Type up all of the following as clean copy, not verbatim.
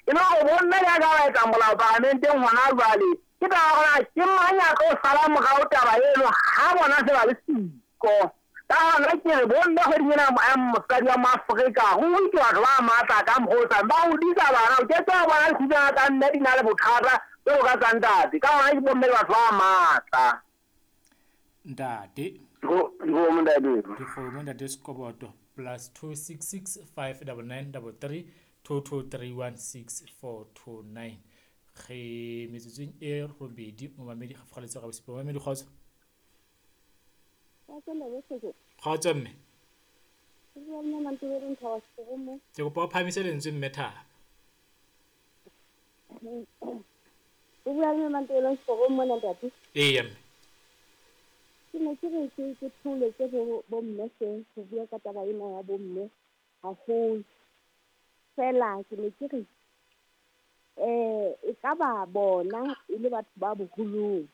E le hore bomme le ka ba etsa molao paramenteng hona jwale, ke taba ya hore ke mang ya tlo sala morao taba eno ha bona se ba le siko. Ka hona ke re bomme kgweding ena ya mosadi wa Moafrika, ruri ke batho ba matla ka mokgwa o tshwanang. Ba hodisa bana, o ke ke wa bona dikgutsana tsa mme di na le bothata jwalo ka tsa ntate. Ka hona ke bomme le batho ba matla. Ntate. Dikgomo ntate. Dikgomo ntate Sekoboto +266 599 33 2231 6429. Re metsotsong e robedi momamedi ga fogaletse ga bosupa. Momamedi kgotso. Kgotso mme. Ke kopa o phahamise lentswe mme Thaba. O bua le Mantebeleng Sekorong mona ntate. Eya mme. Ke ne ke re ke ke theoletse bo bomme hle ho bua ka taba ena ya bomme haholo. Feela ke ne ke re e ka ba bona e le batho ba boholong.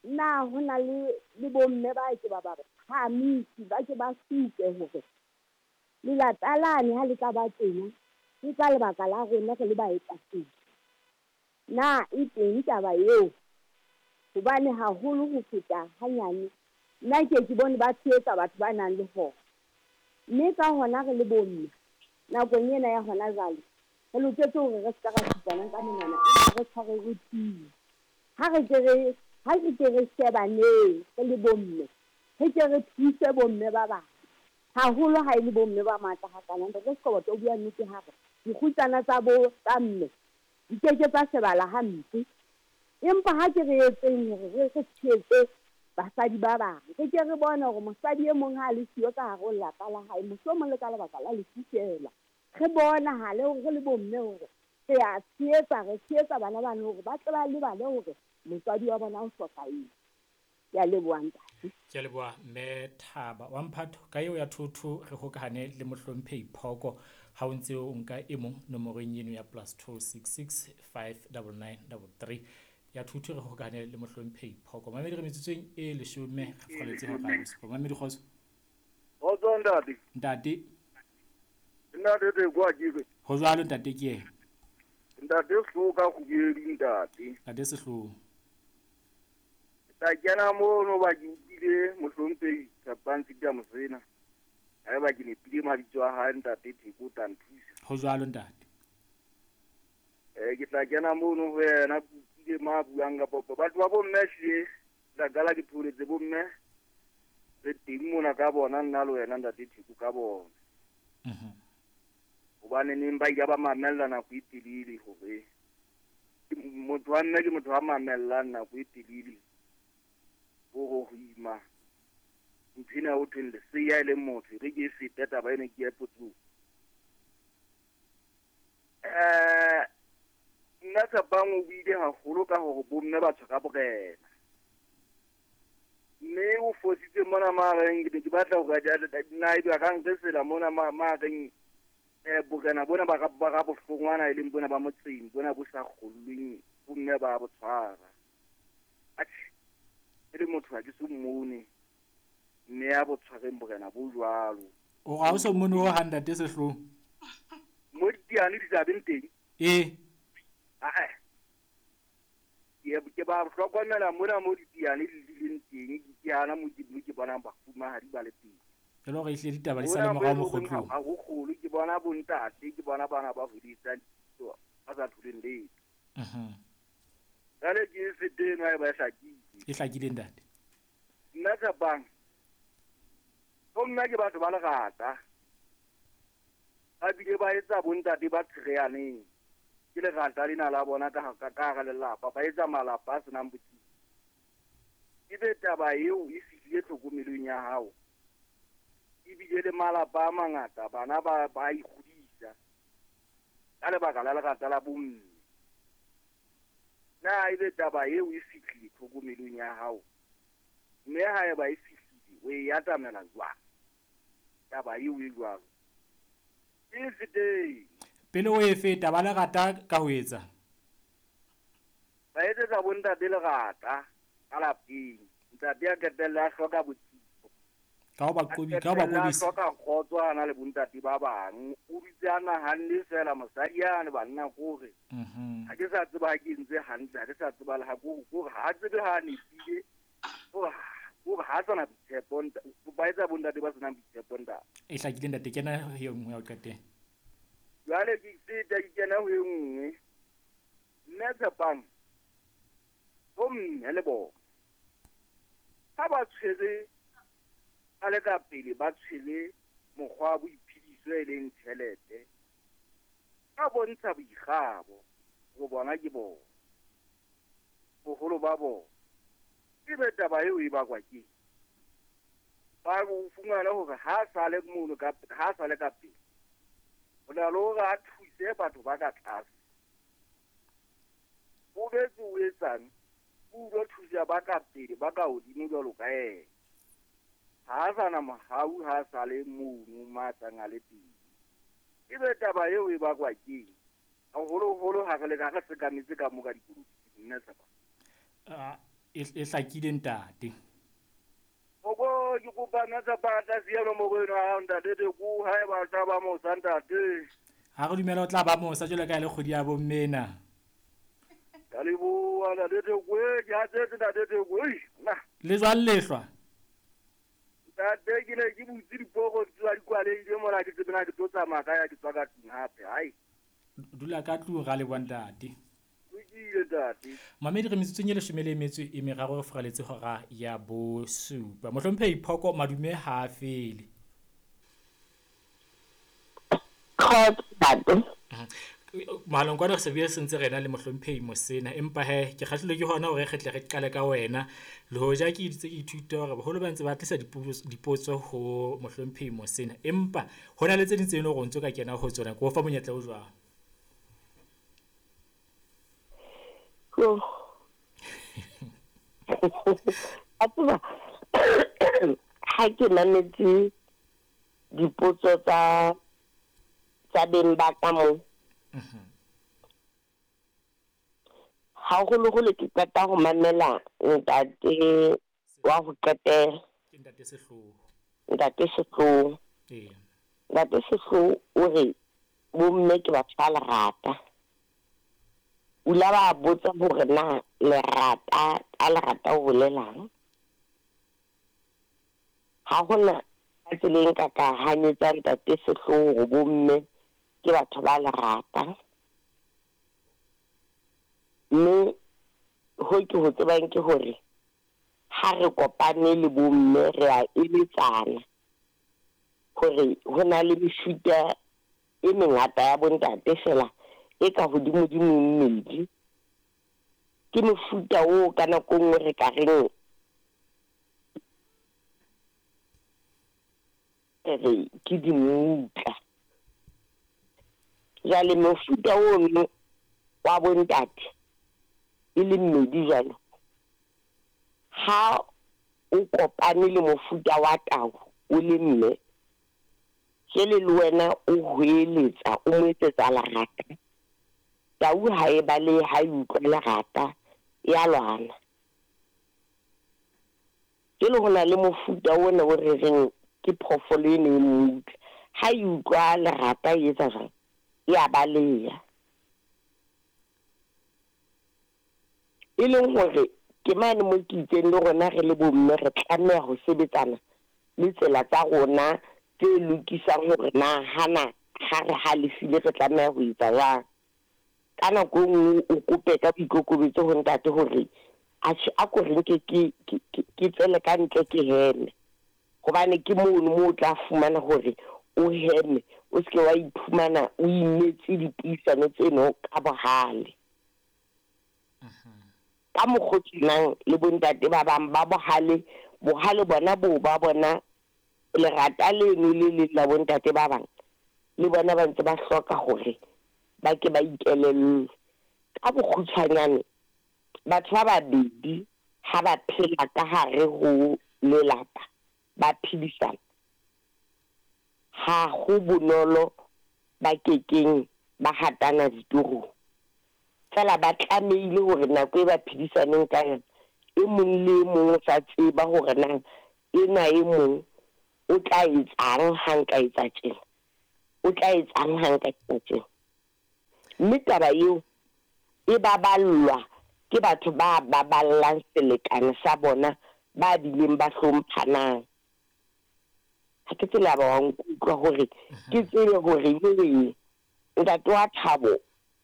Na ho na le le bomme ba ke ba ba phahamise, ba ke ba supe hore lelata lane ha le tla ba tjena ke ka lebaka la rona re le baetapele. Na e teng taba eo? Hobane haholo ho feta hanyane, nna ke ke bone ba tshehetsa batho ba nang le hona. Mme ka hona re le bomme, nakong ena ya hona jwale, re loketse hore re se ka ra supanang ka menwana, empa re tshware re tiye. Ha re ke re, ha re ke re shebaneng re le bomme, re ke re thuse bomme ba bang. Haholo ha e le bomme ba matla hakana. Ntate Sekoboto o bua nnete ha re dikgutsana tsa bo tsa mme di ke ke tsa shebala hampe. Empa ha ke re etseng hore re re tshehetse basadi ba bang. Re ke re bone hore mosadi e mong ha a le siyo ka hare ho lelapa la hae, mohlomong le ka lebaka la lefu feela. Re bonahale hore re le bomme hore re a tshehetsa, re tshehetsa bana bano hore ba tle ba lebale hore motswadi wa bona o hlokahetse. Ke a leboha ntate. Ke a leboha mme Thaba wa Mphato. Ka eo ya thotho re hokahane le mohlomphehi Phoko ha o ntse o nka e mong nomorong eno ya +266 599 33 ya thotho re hokahane le mohlomphehi Phoko. Mamedi re metsotsong e leshome re furaletse hora ya bosupa. Mamedi kgotso. Kgotso ntate. Ntate. Ntate Theko a ke re. Ho jwalo ntate ke yena. Ntate Sehloho ka kgubedi ntate. Ntate Sehloho. Tla kena mono ba ke utlwile mohlomphehi Tshepang Sita Mosena. Haeba ke nepile mabitso a hae ntate Theko o tla nthusa. Ho jwalo ntate. Ke tla kena mono ho yena ke utlwile ma buang ka popo. Batho ba bomme ehlile tla qala ke pholetse bomme re teng mona ka bona nna le wena ntate Theko ka bona. Hobane neng ba ile ba mamella nako e telele hore motho wa mme ke motho wa mamellang nako e telele. Hore ho ima ntho ena ho thweng leseya e leng motho re ke e fete taba ena ke ya potsong. Nna Tshepang o buile haholo ka hore bomme ba tshwara borena. Mme o fositse mona mareng ke ne ke batla hore nna ebe a ka nresela mona mareng borena bona ba ba bohlongwana e leng bona ba motseng bona bo sa kgollweng bomme ba bo tshwara. Atjhe, e le motho ha ke so mmone mme ya bo tshwareng borena bo jwalo. O ga o so mmone ho hang ntate Sehloho? Mo diane di tla beng teng. Ee. Ae. Ke ba hlokomela mona mo diane di leng teng, ke hana mo ke bonang bafumahadi ba le teng. E le hore ehlile ditaba di sale morao mokgotlong. Ha ho kgolo ke bona bontate, ke bona bana ba hodisang ba sa tholeng letho. Jwale ke e fete eno ha eba e hlakile. E hlakile ntate. Nna Tshepang, bomme ke batho ba lerata. Ba bile ba etsa bontate ba tshereaneng. Ke lerata lena la bona ka hara lelapa, ba etsa malapa a senang botsitso. Ebe taba eo e fihlile tlhokomelong ya hao. Ebile le malapa a mangata bana ba ikgodisa ka lebaka la lerata la bomme. Na ebe taba eo e fihlile tlhokomelong ya hao, mme haeba e fihlile o e atamela jwang taba eo e jwalo? E feteng. Pele o e feta ba lerata ka ho etsa? Ba etsetsa bontate lerata ka lapeng. Ntate a qetelle a hloka botsitso. Ka ho ba A qobi, ka ho ba qetella a qobisa. hloka kgotso a na le bontate ba bang. O dutse a nahanne feela mosadi yane banna kore. Ha ke sa tseba ha ke entse hantle, ha ke sa tseba le ha kore ha a tsebe ha a nepile. Kore ha a sana boitshepo ba etsa bontate ba senang boitshepo ntate. E hlakile ntate, kena ho e nngwe ya ho qetela. Jwale ke feta ke kena ho e nngwe. Mme Tshepang, bo mme le bona ha ba tshwere a le ka pele, ba tshwere mokgwa wa boiphediso e leng tjhelete, ba bontsha boikgabo ho bona ke bona boholo ba bona. Ebe taba eo e bakwa ke ba o fumana hore ha sa le mono ka, ha sa le ka pele, ho na le hore a thuse batho ba ka tlase. O betse o etsang, o utlwa thusa ba ka pele, ba ka hodimo jwalo ka yena. Ha a sa na mohau, ha a sa le mono matsang a le teng. Ebe taba eo e bakwa keng? Haholoholo ha re le ka re sekametse ka mo ka dipolotiking, nna Tshepa. E hlakile ntate. Gogo, ke kopa nna Tshepa tla siya nomoro eno ya hao ntate Teko, ha eba o tla ba mosa ntate. Ha re dumela o tla ba mosa jwalo ka e le kgwedi ya bomme ena. Ka leboha ntate Teko, ke hatsetse ntate Teko, ei, nna. Le jwang lehlwa? Ntate, ke ne ke butse diporo tsa di kwalehile mona, ke tsebe na ke tlo tsamaya ka ya ke tswa ka tlung hape, hai. Dula ka tlung ra leboha ntate. Lokile ntate. Mamedi re metsotsong e leshome le metso e meraro re furaletse hora ya bosupa. Mohlomphehi Phoko madume ha a fele. Kgotso ntate. Mohaleng kwana re se bue sentse rena le mohlomphehi Mosena, empa he ke kgahlilwe ke hona hore re tle re qale ka wena. Le hoja ke itse ke ithuta hore boholo ba ntse ba tlisa dipotso ho mohlomphehi Mosena, empa ho na le tse ding tse leng hore o ntso ka kena ho tsona. Ke o fa monyetla o jwang? A tseba ha ke mametse dipotso tsa beng ba ka mo. Haholoholo ke qeta ho mamela ntate wa ho qetela. Ke ntate Sehloho. Ntate Sehloho. Ee. Ntate Sehloho o re bomme ke batho ba lerata. O la ba botsa hore na lerata ka lerata o bolelang. Ha hona ka tsela e nka ka hanyetsa ntate Sehloho hore bomme ke batho ba lerata. Mme ho ke ho tsebang ke hore ha re kopane le bomme re a eletsana hore ho na le mefuta e mengata ya bontate fela e ka hodimodimo e mmedi. Ke mofuta oo ka nako e nngwe re ka reng re ke dimutla. Jwale mofuta ono wa bontate e le mmedi jwalo, ha o kopane le mofuta wa tau o le mme, jwale le wena o hweletsa, o mo etsetsa lerata. Tau ha e balehe, ha e utlwa lerata, ya lwana. Jwale ho na le mofuta ona o re reng ke phoofolo eno e mmutla. Ha e utlwa lerata e etsa jwang? Ya baleha. E leng hore ke mane mo ke itseng le rona re le bomme re tlameha ho sebetsana le tsela tsa rona tse lokisang hore na hana ha re halefile re tlameha ho etsa jwang. Ka nako e nngwe o kope ka boikokobetso ho ntate hore atjhe a ko re nke ke tswele ka ntle ke heme. Hobane ke mono moo o tla fumana hore o heme, o seke wa iphumana o imetse dipuisano tseno ka bohale. Ka mokgwa o tshwanang le bontate ba bang ba bohale, bohale bona bo ba bona lerata leno le leng la bontate ba bang, le bona ba ntse ba hloka hore ba ke ba ikelellwe. Ka bokgutshwanyane, batho ba babedi ha ba phela ka hare ho lelapa, ba phedisana, ha ho bonolo ba kekeng ba hatana ditorong. Feela ba tlamehile hore nako e ba phedisaneng ka yona, e mong le e mong o sa tseba hore na ena e mong O tla etsang ha nka etsa tjena? O tla etsang ha nka etsa tjena? Mme taba eo e baballwa ke batho ba baballang selekane sa bona ba bileng ba hlomphanang. Ha ke tsebe ha ba wa nkutlwa hore ke tsebe hore jwale ntate wa Thabo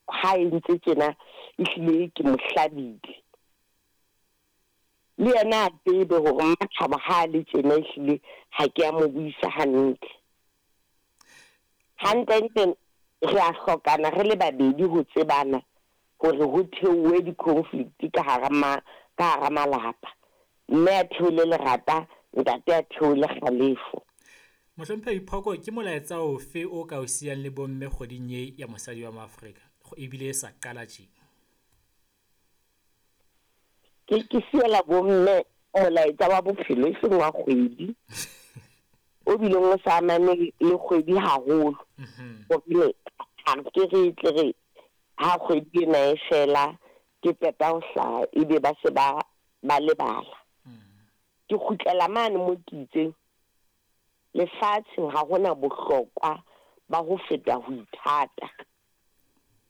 ha entse tjena ehlile ke mo hlabile. Le yena a tsebe hore Mmathabo ha a le tjena ehlile ha ke a mo buisa hantle. Hantlentle re a hlokana re le babedi ho tsebana hore ho theohe di-conflict ka hara ma, ka hara malapa. Mme a theole lerata, ntate a theole kgalefo. Mohlomphehi Phoko, ke molaetsa ofe o ka o siyang le bomme kgweding ye ya mosadi wa Moafrika, ebile e sa qala tje? Ke siela bomme molaetsa wa bophelo e seng wa kgwedi, o bileng o sa amane le kgwedi haholo. Hobane ha ke re tle re ha kgwedi ena e fela ke qeta ho hlaha ebe ba se ba ba lebala. Ke kgutlela mane mo ke itseng lefatsheng ha hona bohlokwa ba ho feta ho ithata.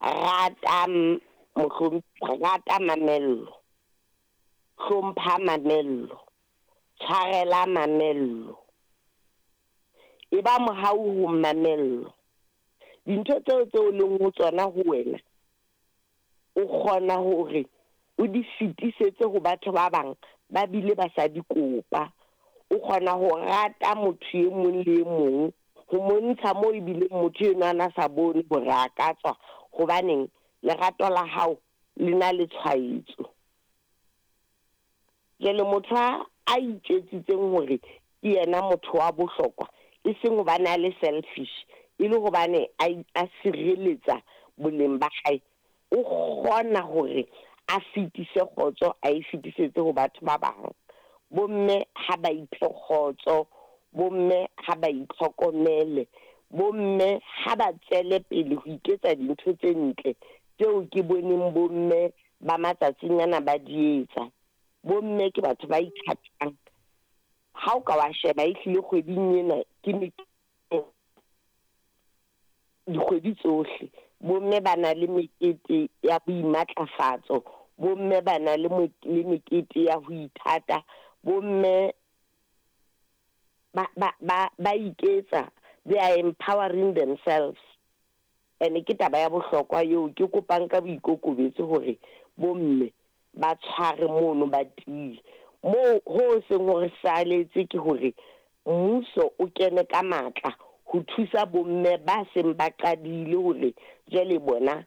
Rata rata mamello, hlompha mamello, tshwarela mamello. E ba mohau ho mamello. Dintho tseo tseo leng ho tsona ho wena, o kgona hore o di fetisetse ho batho ba bang ba bile ba sa di kopa. O kgona ho rata motho e mong le e mong, ho montsha moo ebileng motho enwa a na sa bone hore a ka tswa, hobaneng lerato la hao le na le tshwaetso. Jwale motho a itjwetsitseng hore ke yena motho wa bohlokwa, e seng hobane a le selfish, e le hobane a sireletsa boleng ba hae, o kgona hore a fetise kgotso, a e fetisetse ho batho ba bang. Bomme ha ba iphe kgotso, bomme ha ba itlhokomele, bomme ha ba tswele pele ho iketsa dintho tse ntle tseo ke boneng bomme ba matsatsing ana ba di etsa. Bomme ke batho ba ithatang. Ha o ka wa sheba ehlile kgweding ena ke dikgwedi tsohle, bomme ba na le mekete ya boimatlafatso, bomme ba na le mekete ya ho ithata, bomme ba iketsa, they are empowering themselves. Ene ke taba ya bohlokwa eo ke kopang ka boikokobetso hore bomme ba tshware mono ba tiye. Moo ho seng hore saletse ke hore mmuso o kene ka matla ho thusa bomme ba seng ba qadile hore jwale bona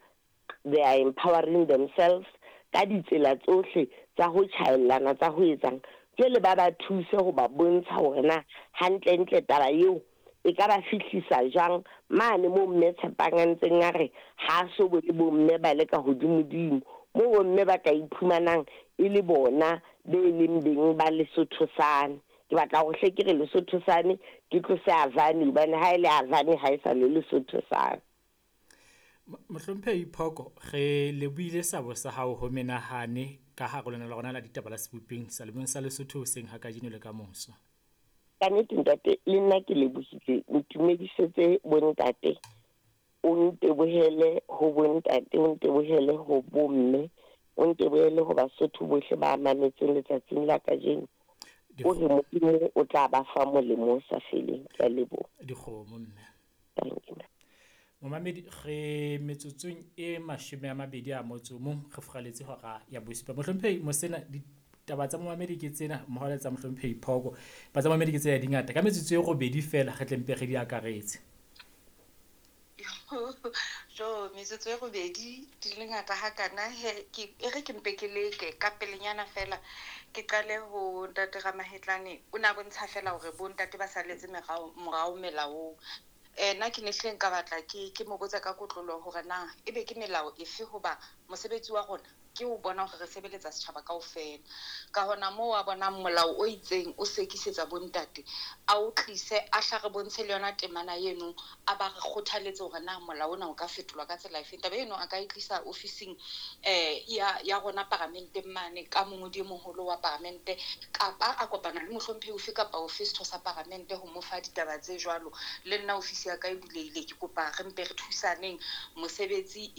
they are empowering themselves ka ditsela tsohle tsa ho tjhaellana, tsa ho etsang. Jwale ba ba thuse ho ba bontsha hore na hantlentle taba eo e ka ba fihlisa jwang mane moo mme Tshepang a ntseng a re ha so bone bomme ba le ka hodimodimo, moo bomme ba ka iphumanang e le bona be leng beng ba Lesotho sane. Ke batla hore hle ke re Lesotho sane ke tlose Avani, hobane ha e le Avani ha e sa le Lesotho sane. Mohlomphehi Phoko, re lebohile sabo sa hao ho menahane ka hare lona la rona la ditaba la sebopeng salemong sa Lesotho hoseng ha kajeno le ka moso. Ka nnete ntate, le nna ke lebohile. Ntumedisetse bontate, o ntebohele ho bontate, o ntebohele ho bomme, o ntebohele ho Basotho bohle ba mametseng letsatsing la kajeno. O re Modimo o tla ba fa molemo o sa feleng. Ke a leboha. Dikgomo mme. Thank you. Momamedi, re metsotsong e 21 re furaletse hora ya bosupa. Mohlomphehi Mosena, ditaba tsa momamedi ke tsena, mmoho le tsa mohlomphehi Phoko. Ba tsa momamedi ke tsena di ngata. Ka metsotso e 8 feela re tle mpe re di akaretse. Jo, metsotso e 8 di le ngata hakana, he ke e re ke mpe ke leke ka pelenyana fela ke qale ho ntate Ramahetlane. O na bontsha fela hore bo ntate ba salletse morao melaong. Nna ke ne hle nka batla ke mo botsa ka kotlolo hore na ebe ke melao efe, hoba mosebetsi wa rona Ke ho bona hore re sebeletsa setjhaba kaofela. Ka hona moo a bonang molao o itseng o sekisetsa bontate, a o tlise, a hla re bontshe le yona temana eno, a ba re kgothaletse hore na molao ona o ka fetolwa ka tsela efeng. Taba eno a ka e tlisa ofising ya rona paramenteng mane ka mongodi e moholo wa paramente, kapa a kopana le mohlomphehi ofe kapa ofe setho sa paramente ho mo fa ditaba tse jwalo. Le nna ofisi ya ka e bulehile, ke kopa re mpe re thusaneng mosebetsi.